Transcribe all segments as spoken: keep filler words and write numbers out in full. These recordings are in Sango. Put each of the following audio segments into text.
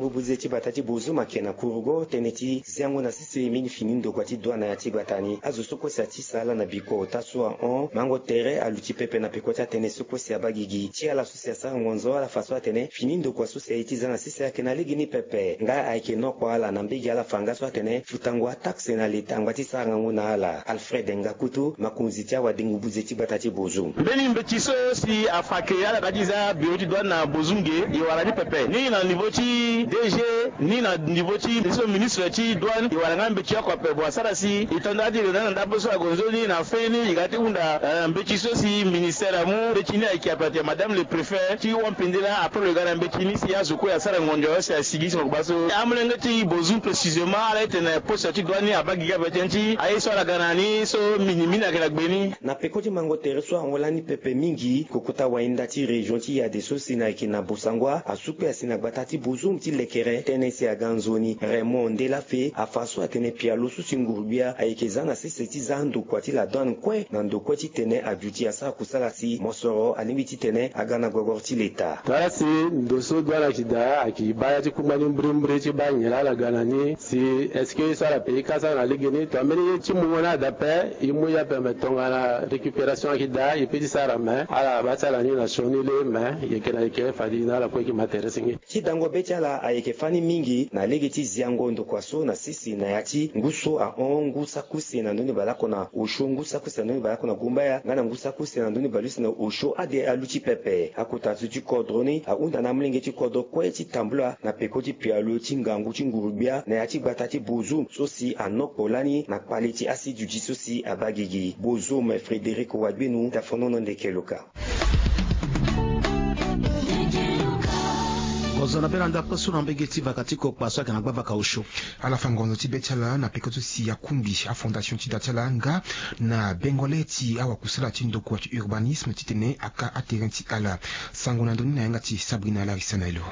Ngu buze ti bata ti Bozoum ayeke na kurugo tënë ti ziango na sese mingi fini ndokua ti douane na ya ti gbata ni. Azo so kue si ati sala na biko ota so ahon mango tere aluti pepe na peko ti atënë so kue si abaa gigi ti ala so si asara ngonzo ala fa so atene fini ndokua so si aye ti za na sese ayeke na lege ni pepe. Nga ayeke nokua ala na mbege ala fa nga so atene futango ataxe na leta angba ti sara ngangu na ala. Alfred Ngakutu, makonzi ti awadengo buze ti gbata ti Bozoum. Mbeni mbeti so si afa ke ala ga ti za biro ti douane na Bozoum ge, e wara ni pepe. Ni na niveau ti D G, ni na niveau ti so ministre ti douane, e wara nga mbeti oko ape. Bon, asara si e to nda ti lo na ndapre so agonzo ni na fin ni e ga ti hunda, eh, mbeti so si ministère amu mbeti ni ayeke ape ate madame le préfet ti wampindela après lo ga na mbeti ni si azo kue asara ngonzo si asigi si mo gba so. Amolenge ti Bozoum précisément ala ete na poste ti douane ni abaa gigi ape tënë ti aye so ala ga na ni so minimini ayeke na gbe ni. Na peko ti mango tere so ahon lani pepe mingi, kokota wainda ti région ti Yade so si na yeke na Bossangoa asu kue asi na gbata ti Bozoum ti lekere tënë si aga nzoni. Raymond Ndelafe afa so atene pialo so si nguru-gbia ayeke za na sese ti za ndokua ti la douane kue na ndokue titene aduti asara kusala si mosoro alingbi titene aga na gogoro ti leta. Tara si ndo so douane ayeke daa ayeke baa ya ti kungba ni mbrimbri ti baa nyen laa ala ga na ni si est-ce que so ala pe ti ka sara na lege ni to ambeni ye ti mungo ni ada ape. E mu ye ape me tongana récupération ayeke daa e pe ti sara me ala baa ti ala ni na sioni le me yeke na yeke fade na ala kue yeke ma tere senge. Ti dango be ti ala ayeke fani mingi na lege ti ziango ndokua so na sese na ya ti ngu so ahon ngu sakuse na ndoni baleoko na osio ngu sakuse na ndoni baleoko na gumbaya nga na ngu sakuse na ndoni baleuse na osio ade aluti pepe. Akota zo ti kodro ni ahunda na amolenge ti kodro kue ti tambula na peko ti pialo ti ngangu ti nguru-gbia na ya ti gbata ti Bozoum so si anokpo lani na kpale ti asiduti so si abaa gigi. Bozoum, Frédéric Wagbenu, tafonono ndeke luka. Kozala na be na ndapre so na mbege ti vaka ti kokpa so ayeke na gbavaka osio. Ala fa ngonzo ti be ti ala na peko so si akungbi afondation ti da ti ala nga na bengole ti awakusala ti ndokua ti urbanisme titene aka aterrain ti ala. Sango na ndoni na yanga ti Sabrina Larissa na elo.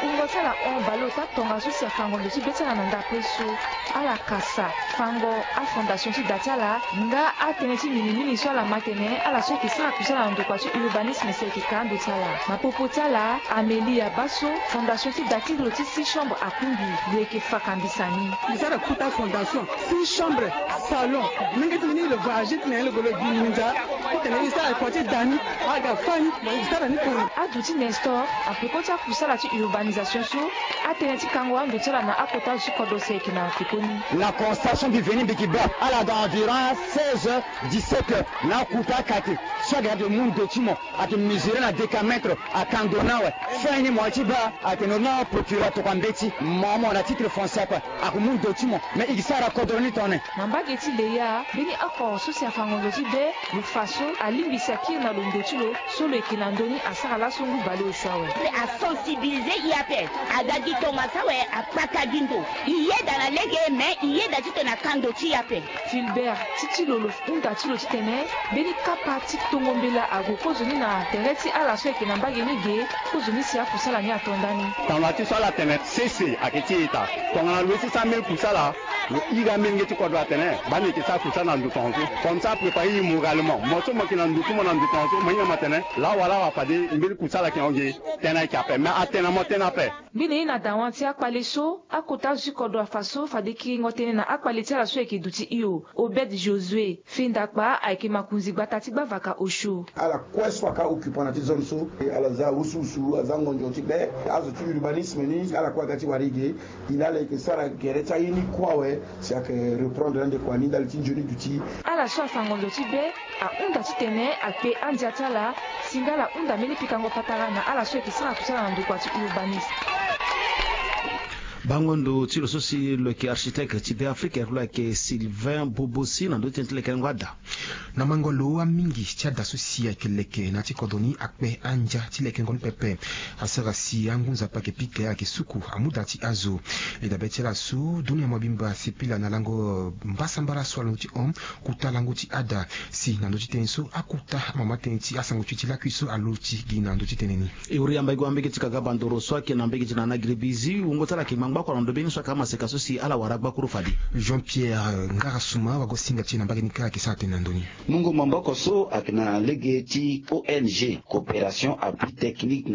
Wungo ti ala hon baleota tongaso si afa ngonzo ti be ti ala na ndapre so. Ala kasa fango afondation ti da ti ala nga atënë ti minimini so ala ma tene ala so ayeke sara kusala na ndokua ti urbanisme si ayeke ka ando ti ala. Na popo ti ala Amélie Abasso, fondation ti da ti lo ti six chambre akungbi lo yeke fakambisa ni. Lo sara kuta fondation six chambre, salon. Mingi ti mbeni lo voyage ti na ye lo golo gi nginza. Titene e sara kua ti da ni aga fa ni mo e sara ni koro. Aduti Nestor apeko ti akusala ti urbanisation so atënë ti kango ando ti ala na akota zo ti kodro si ayeke na pekoni. Na constatation mbi veni mbi yeke baa ala dans environ seize heures, dix-sept heures na akota akate. So ayeke na ate mu ndo ti mo ate mesurer na décamètre aka ndo ni awe. Fin ni mo ye ti baa atene na procureur atokua mbeti mo mo na titre foncier ape. Ake mu ndo ti mo me e ke sara kodro ni tongana nyen? Na mbage ti Leya mbeni oko so si afa ngonzo ti be lo fa so alingbi si akiri na lo ndo ti lo so lo yeke na ndö ni asara laso ngu baleosio awe. Asensibiliser e ape. Aga gi tongaso awe akpaka gi ndo. E yeda na lege me e yeda titene aka ndo ti e ape. Filbert ti ti lo lo hunda ti lo titene mbeni kapa ti tongo mbela ague kozoni na tere ti ala so ayeke na mbage ni ge. Kozoni si akusala ni ato ndani. Tanga ti so ala tene sese ayeke ti ita tongana lo ye ti sara mbeni kusala. Lo iri amenge ti kodro atene baa ni yeke sara kusala na ndo tongaso comme ça apréparer e moralement mo so mo yeke na ndo ti mo na ndo tongaso mo hinga mo atene lawa lawa fade mbeni kusala ayeke hon ge. Tënë ayeke ape me atene na mo tënë ape. Mbeni ye na dawa ti akpale so akota zo ti kodro afa so fade kiringo tënë na akpale ti ala so ayeke duti hio. Obed Josué Fendakpa ayeke makonzi gbata ti gbavaka osio. Ala kue so aka occupant na ti zone so ala za wusuwusu aza ngonzo ti be. Azo ti urbanisme ni ala kue aga ti wara e ge. E na ala yeke sara gere ti aye ni kue awe. Si ayeke reprendre na ndekua ni ndali ti nzoni duti. Ala so afa ngonzo ti be ahunda titene akpe andia ti ala. Si nga ala hunda mbeni pikango patara na ala so ayeke sara kusala na ndokua ti urbanisme. Bango ndo ti lo so si lo yeke architecte ti Beafrika lo yeke Sylvain Bobosi na ndö ti tënë ti lekerengo ada. Na mango lo amingi ti ada so si ayeke leke na ya ti kodro ni akpe andia ti lekerengo ni pepe. Asara si angu nzapa ayeke pika ayeke suku amu da ti azo. E dabe ti ala so dunia mobimba asepela na lango mbasambala so alondo ti hon kota lango ti ada. Si na ndö ti tënë so akota amama tënë ti asango ti e ti lakui so alo ti gi na ndö ti tënë ni. E huri yamba e gue na mbege ti kagaba ndoro so ayeke na mbege ti nana giribizi wungo ti ala ayeke ma. Ngbako na ndo mbeni so ayeke amaseka so si ala wara gbakuru fade. Jean Pierre Ngarasuma wago singa ti e na mbage ni kara ayeke sara tene na ndoni. Mungo maboko so ayeke na lege ti O N G Coopération Appui Technique